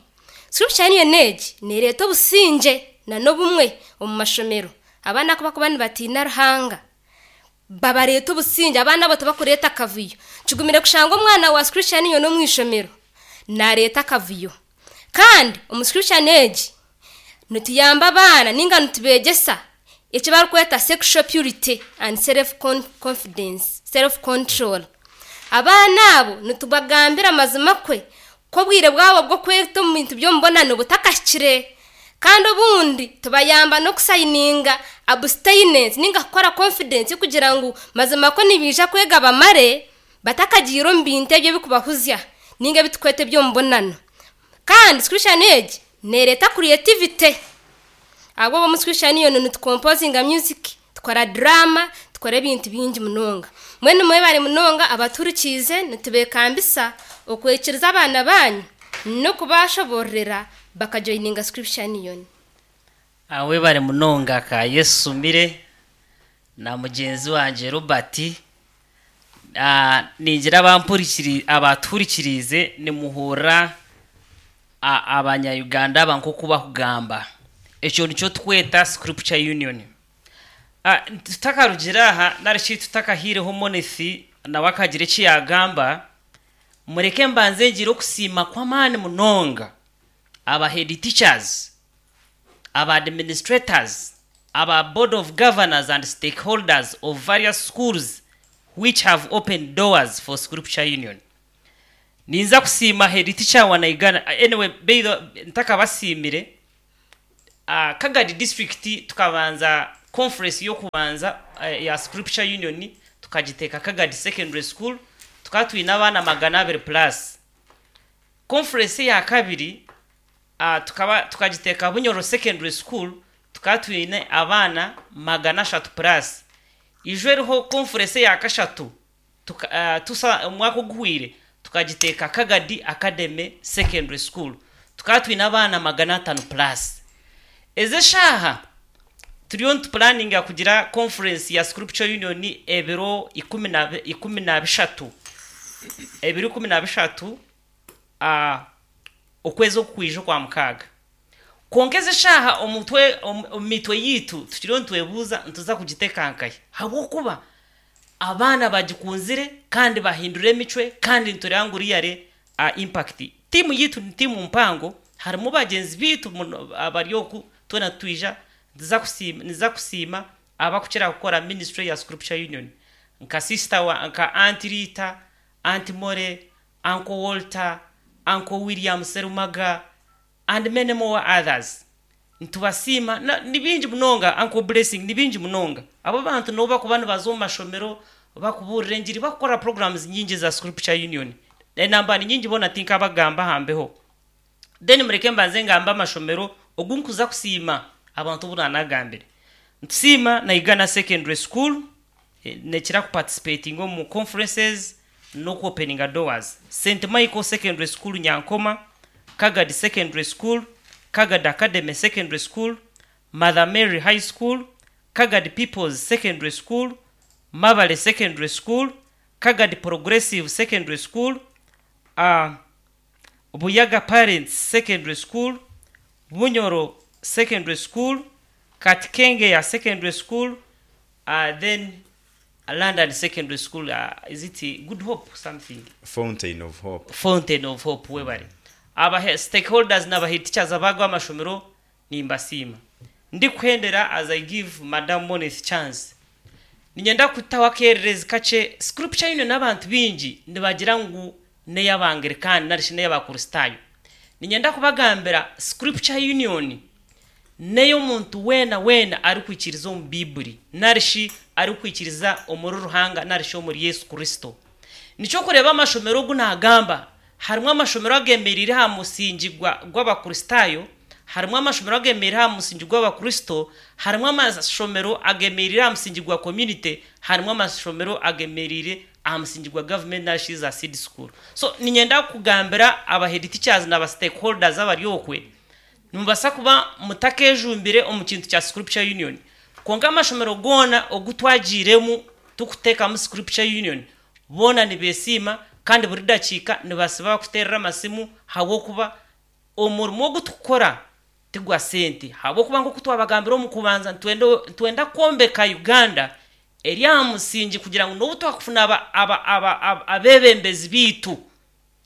Scripture Union egi nereeta obusingye na n'obumwe omu mashomero. Abaana ku bakuba nibatiina Ruhanga babareeta obusingye, abaana abo tibakureeta akavuyo. Kigumire kushanga omwana wa Scripture Union omu ishomero nareeta akavuyo. Kandi omu Scripture egi nituyamba abaana ninga nitubegyesa eki barikweta sexual purity and self confidence, self control. Abaana abo nitubagambira amazima kwe ko obwire bwabo bw'okweta omu bintu by'omubonano butakahikire. Kandi obundi tubayamba n'okusayininga abstinence ninga kukora confidence kugira ngu mazima ko nibiija kwega bamare batakagiire omu bintu ebyo ebikubahuzya ninga ebitukweta eby'omubonano. Kandi Scripture egi nereeta creativity. Abo omu Scripture Union nitukompozinga music, tukora drama, tukora ebintu bingi munonga. Mwenu mwebare munonga abaturikiize, nitubekambisa okwekiriza abaana banyu n'okubashoborera bakajoininga Scripture Union. Webare munonga ka Yesu mire na mugenzi wanje Robert. Ah, ningira abampurikiri abaturikirize nimuhurra abanya-Uganda aba nk'oku bakugamba. Ekyo nikyo tweta Scripture Union. Ah, tutakarugira aha narishi tutakahiireho Monesi nawe akagira eki yagamba, mureke mbanze ngire okusiima kw'amaani munonga aba head teachers, aba administrators, aba board of governors and stakeholders of various schools which have opened doors for Scripture Union. Ninza kusiima head teacher wa Naigana. Anyway, beiro ntakabasiimire, uh, Kagadi district tukabanza conference yo kubanza uh, ya Scripture Union tukagiteka Kagadi Secondary School, tukaba twine abaana magana abiri plus. Conference ya kabiri uh, tukaba tukagiteka Bunyoro Secondary School, tukaba twine abaana magana ashatu plus. Ijo eriho conference ya kashatu tuka, uh, tusa omwaka oguhwire tukagiteka Kagadi Academy Secondary School, tukaba twine abaana magana atano plus. Eze shaha turiyo nitupulaninga kugira conference ya Scripture Union ebiro ikumi na ikumi na bishatu, ebiro ikumi na bishatu uh, okwezi okukwija kwa mukaaga. Konka eze shaha omutwe omu mitwe yitu tukiriyo nitwebuuza nituza kugitekankahi, habwokuba abaana bagikunzire kandi bahindura emicwe kandi nitureba ngu riyare uh, impact. Tiimu yitu ni tiimu mpango, harimu bagyenzi bitu abari oku twena twija niza kusiima, niza kusiima abakukira kukora ministry ya Scripture Union nka sister wa nka Auntie Rita, Auntie More, Uncle Walter, Uncle William Serumaga and many more others. Nitubasiima ni bingi munonga. Uncle Blessing ni bingi munonga. Abo bantu nabo bakuba nibaza omu mashomero bakuburira engiri, bakukora programs nyingi za Scripture Union. Enamba ni nyingi bona tinkabagamba hambeho. Then mureke mbanze ngamba amashomero ogu nkuza kusiima abantu obu nanagambire. Ntusiima Naigana Secondary School nekira kuparticipating omu conferences n'okuopeninga doors. Saint Michael Secondary School Nyankoma, Kagadi Secondary School, Kagadi Academy Secondary School, Mother Mary High School, Kagadi People's Secondary School, Mabale Secondary School, Kagadi Progressive Secondary School, uh, Buyaga Parents Secondary School, Bunyoro Secondary School, Katkengeya Secondary School, uh, then London Secondary School. Uh, is it Good Hope something? Fountain of Hope. Fountain of Hope, webare. Aba stakeholders n'aba head teachers abago amashomero nimbasiima. Ndikuhendera, as I give Madam Moneth chance, ninyenda kutaho akererezi kakye. Scripture Union n'abantu bingi nibagira ngu n'ey'Abangilikani narishi n'ey'Abakristaayo. Ninyenda kubagambira, Scripture Union n'ey'omuntu weena weena arikwikiriza omu Biibuli narishi arikwikiriza omuri Ruhanga narishi omuri Yesu Kristo. Nikyo kureba amashomero ogu nagamba, harimu amashomero agemereire aha musingi gw'Abakristaayo, harimu amashomero agemereire aha musingi gw'Abakristo, harimu amashomero agemereire aha musingi gwa community, harimu amashomero agemereire aha musingi gwa government narishi za seed school. So ninyenda kugambira aba head teachers n'aba stakeholders abari okwe, nimubasa kuba mutakejumbire omu kintu kya Scripture Union, konka amashomero goona ogu twagiiremu tukuteekamu Scripture Union, boona nibesiima kandi buri dakiika nibasiba kuterera amasimu, habwokuba omurimo ogu tukukora tigwa sente, habwokuba nk'oku twabagambira omu kubanza, nitwenda kwombeka Uganda eri aha musingi kugira ngu n'obu twakufuna abebembezi biitu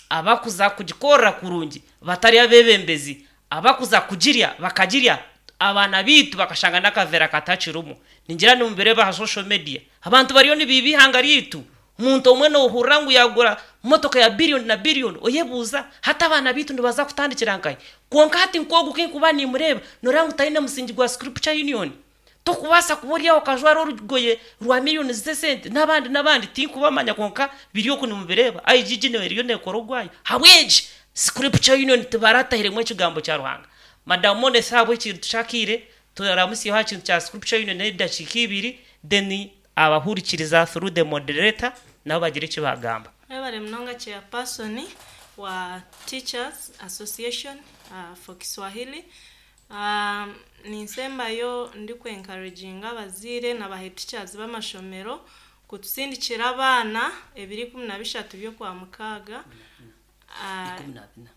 abakuza kugikorera kurungi, batari abebembezi abakuza kugirya bakagirya abaana biitu bakashanga n'akavera katakirimu. Ningira nimubireba aha social media, abantu bariyo nibiiba ihanga ryitu. Omuntu omwe nohurira ngu yagura motoka ya biliyoni na biliyoni, oyebuuza hati abaana biitu nibaza kutandikira nkahi? Kwonka hati nk'ogu kinkuba nimureba, noreba ngu taine musingi gwa Scripture Union. Tokubaasa kuba ori aho okajwara orugoye rwa miliyoni z'esente n'abandi n'abandi tinkubamanya, kwonka biri oku nimubireba. I G G eriyo nekora ogwayo. Habw'enki Scripture Union tibaratahiremu ekigambo kya Ruhanga? Madamu Monesi, ahabwa ekintu kyakiire turamusiyeho aha kintu kya Scripture Union n'edakiika ibiri, then abahurikiriza through the moderator nabo bagire eki bagamba. Mwebale munonga, chairperson wa Teachers Association uh, for Kiswahili. um, ninsembayo ndi encouraginga abazaire n'aba head teachers b'amashomero kutusindikira abaana ebiri ikumi na bishatu by'okwa mukaaga, Ah,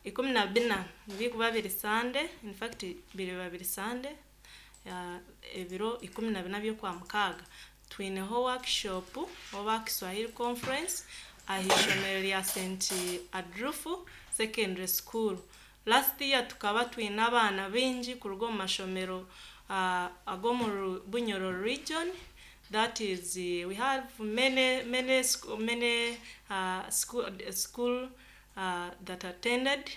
ikumi na bina bikuba biri Sande, in fact biri babiri Sande, uh, ebiro ikumi na bina by'okwa mukaaga twineho workshop oba Kiswahili conference aha ishomero rya Saint Adrufu Secondary School. Last year tukaba twine abaana baingi kuruga omu mashomero uh, ag'omu Bunyoro region. That is, uh, we have many many sc- many uh, school, school uh, that attended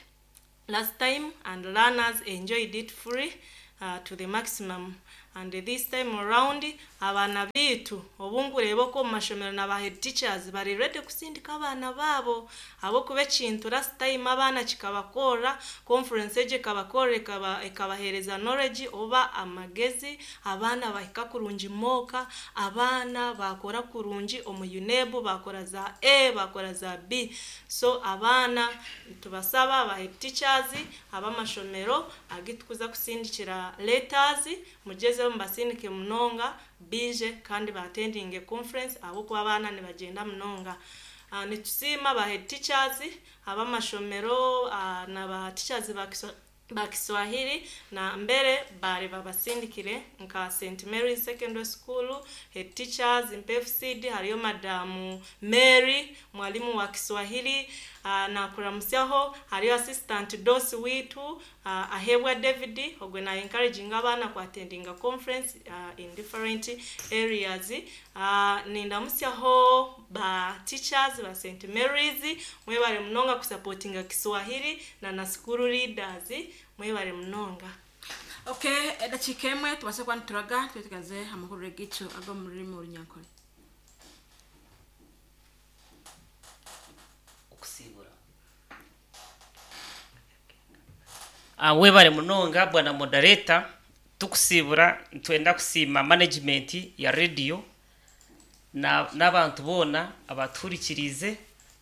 last time, and learners enjoyed it free uh, to the maximum. And this time around, abaana bitu obungureba ko mu mashomero na ba head teachers bari ready kusindika abaana baabo, ahabwokuba ekintu last time abaana kikabakora, conference egyo ekabakora, ekaba ekabahereza knowledge oba amagezi. Abaana bahika kurungi mooka, abaana bakora kurungi omu UNEB, bakora za A, bakora za B. So abaana tubasaba, ba head teachers ab'amashomero agitukuza kusindikira letters, mugezeho mubasindike munonga bije kandi batendinge conference, ahabwokuba abaana nibagenda munonga. uh, nitusiima ba head teachers ab'amashomero uh, na ba teachers ba Kiswa- ba Kiswahili na mbere bari babasindikire nka Saint Mary's Secondary School head teachers mpefcd, hariyo Madamu Mary, mwalimu wa Kiswahili, uh, nakuramusyaho. Hariyo assistant dos witu, uh, Ahebwa David, ogwe na encouraging abaana kuattendinga conference uh, in different areas. uh, nindamusyaho ba teachers ba Saint Mary's, mwebale munonga kusupportinga Kiswahili, na na school leaders, mwebale munonga. Okay, edakiika emwe tubase kuba nituraga twetegaze amahurire gaitu ag'omu rurimi Orunyankore. Okusibura. Ah, webale munonga, bwana moderator. Tukusibura, nitwenda kusiima management ya radio na n'abantu boona abatuhurikirize.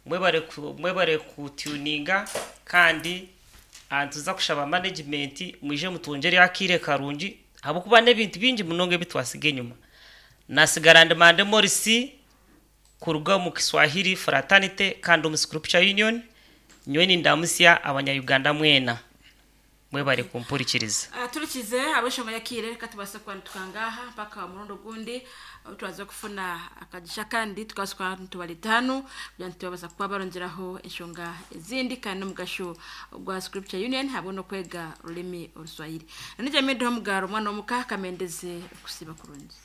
Mwebale ku- mwebale kutuninga, kandi ah, nituza kushaba management mwije mutwongere akiire karungi, habwokuba n'ebintu bingi munonga ebi twasiga enyuma. Nasigara ndimande Morisi kuruga mu Kiswahili Fraternity kandi omu Scripture Union. Nyowe nindamusya Abanyayuganda mwena. Mwebare kumpurikiriza. Uh, turikize abeshonga yakire reka tubase kuba tukangaha mpaka murundo gundi aho turaza kufuna akagisha kandi tukabasa kuba nitubareta hano kugira ngu tubabasa kuba barongeraho enshonga ezindi kandi n'omugasho gwa Scripture Union hamwe n'okwega rurimi oruswahili. Nanijja midoho mugaro omwana w'omuka kamendeze okusiba kurungi.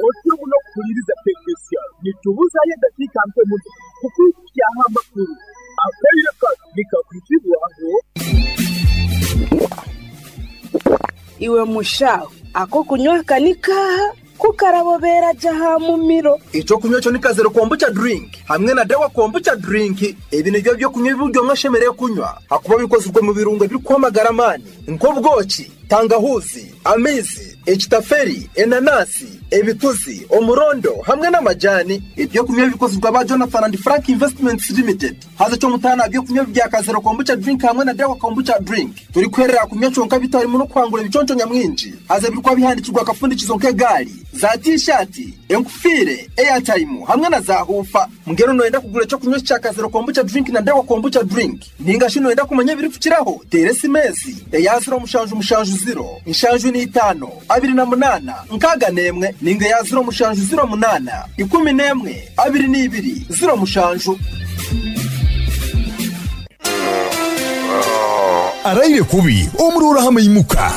Otyo muno kuhuliriza tekinisiya nitubuzayo eddakiika mpe muno kukwikyaho amakuru akaire kano nikakwizibwaho. Iwe mushaho ako kunywa kanikaha kukarabobera jaha mumiro. Ekyokunywa ekyo ni kazero kombucha drink hamwe na dawa kombucha drink. Ebi nibyo byokunywa ebi omwe ashemereire kunywa hakuba bikozirwe mu birungo ebirikuhamagara amaani nk'obwoki, tangahuzi, amaizi, ekitaferi, enanasi, ebituzi, omurondo hamwe n'amajani. Ebyokunywa bikozirwe aba Jonathan and Frank Investments Limited. Haza ky'omutaano aha byokunywa bya kazero kombucha drink hamwe na dawa kombucha drink turikuherera kunywa kyonka bitarimu n'okuhangura ebiconco nyamwingi. Haza ebirikuba bihandikirwa akafundikizo nk'egaari, za t-shirt, enkufiire, airtime hamwe na za hufa. Mbwenu noyenda kugura ekyokunywa kya kazero kombucha drink na dawa kombucha drink ninga shi noyenda kumanya ebirikukiraho, teera esimesi eya ziro mushanju mushanju ziro nshanju n'itaano abiri na munaana nkaaga n'emwe ninga eya ziro mushanju ziro munaana ikumi n'emwe abiri n'ibiri ziro mushanju. Araire kubi omurora hamwe imuka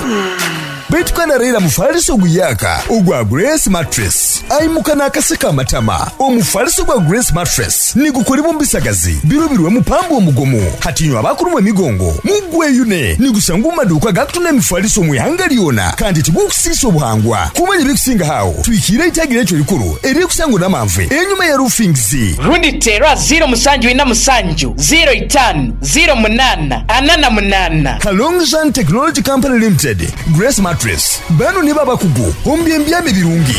baitu kandi araira mufaliso guyaka ogwa Grace Mattress aimuka n'akaseka amatama. Omufaliso gwa Grace Mattress nigukolebwa mu bisagazi birobirwe mupambo omugomo hatinywa abakulumwa emigongo mugweyune nigusanga mu maduuka gakutunda emifaliso mu ihanga lyona kandi tigukusiisa obuhangwa. Kumanya ebikusinga hawo twikire itagira ekyo likuru eririkusangwa n'amanve enyuma ya Roofings. Rundi terwa ziro musanju ina musanju ziro itanu ziro munana anana munana. Kalongjan Technology Company Limited, Grace Mattress bano ni babakugu ombyembyame birungi.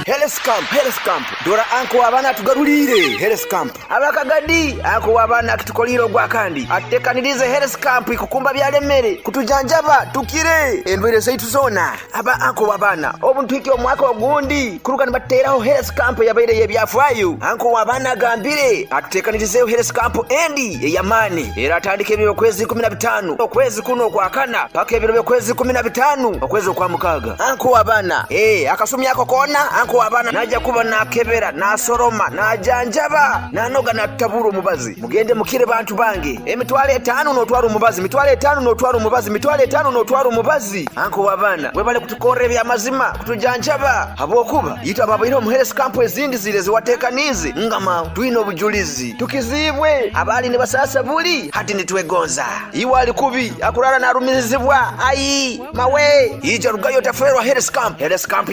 Health Camp, Health Camp. Dora anko abana tugarulire Health Camp. Abakagadi anko abana kitukoliro gwa kandi. Atekanirize Health Camp ikukumba byalemere kutujanjaba tukire endwere zaitu zona. Aba anko abana obuntu ikyo omwaka ogundi kuruka nibateraho Health Camp yabaire yebyafwayo. Anko abana gambire atekanirize Health Camp endi eyamani. Era atandike ebiro kwezi kumi na bitano okwezi kuno kwa kana paka ebiro kwezi kumi na bitano okwezi kwa mukaga. Anko abana eh akasumi yako kona anko abana naja kuba nakebera nasoroma najanjaba nanoga natabura omubazi. Mugende mukire bantu bange emitwalo etaano notwara omubazi, mitwalo etaano notwara omubazi, mitwalo etaano notwara omubazi. Anko abana webale kutukorera ebyamazima kutujanjaba habwokuba yitwa babaire omu Health Camp ezindi zire ziwatekanize ngama twine obujulizi tukizibwe abali ne basasa buli hati nitwegonza iwe ali kubi akurara narumizibwa ayi mawe ija rugayo taferwa Health Camp. Health Camp.